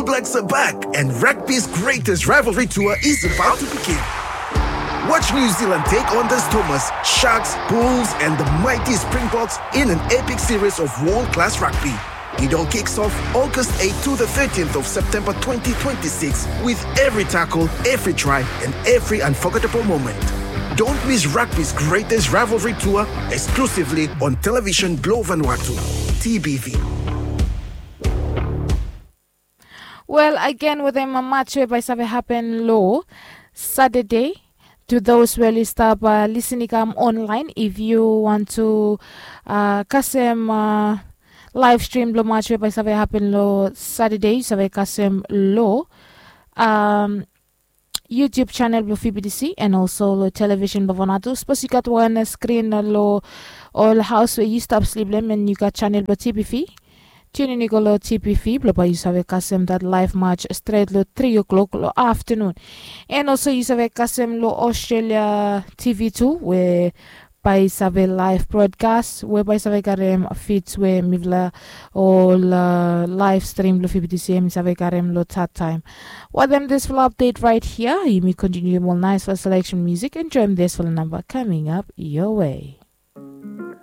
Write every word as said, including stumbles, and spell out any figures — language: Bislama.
Blacks are back, and rugby's greatest rivalry tour is about to begin. Watch New Zealand take on the Stormers, Sharks, Bulls, and the mighty Springboks in an epic series of world class rugby. It all kicks off August eighth to the thirteenth of September twenty twenty-six, with every tackle, every try, and every unforgettable moment. Don't miss rugby's greatest rivalry tour, exclusively on Television Blue Vanuatu, T B V. Wel, agen wetem match we bae i save hapen lo Saturday. To those we oli stap lisin i kam online, if yu want to kasem live stream blo match we bae i save hapen lo Saturday, yu save kasem lo YouTube channel blo V B T C and also lo television blo Vanuatu. Sapos yu gat wan screen lo ol haos we yu stap slip lo hem and yu gat channel blo T B V, tune in i go lo T B V blo bae yu save kasem dat live match stret lo tri o'clock lo afternoon. And also yu save kasem lo Australia T V tu we bae i save live broadcast we bae i save karem feeds we mifala ol live stream blo V B T C hem i save karem lo that time. Wetem disfala update right here, yumi kontinium ol naesfala selection music. Enjoem disfala namba coming up your way.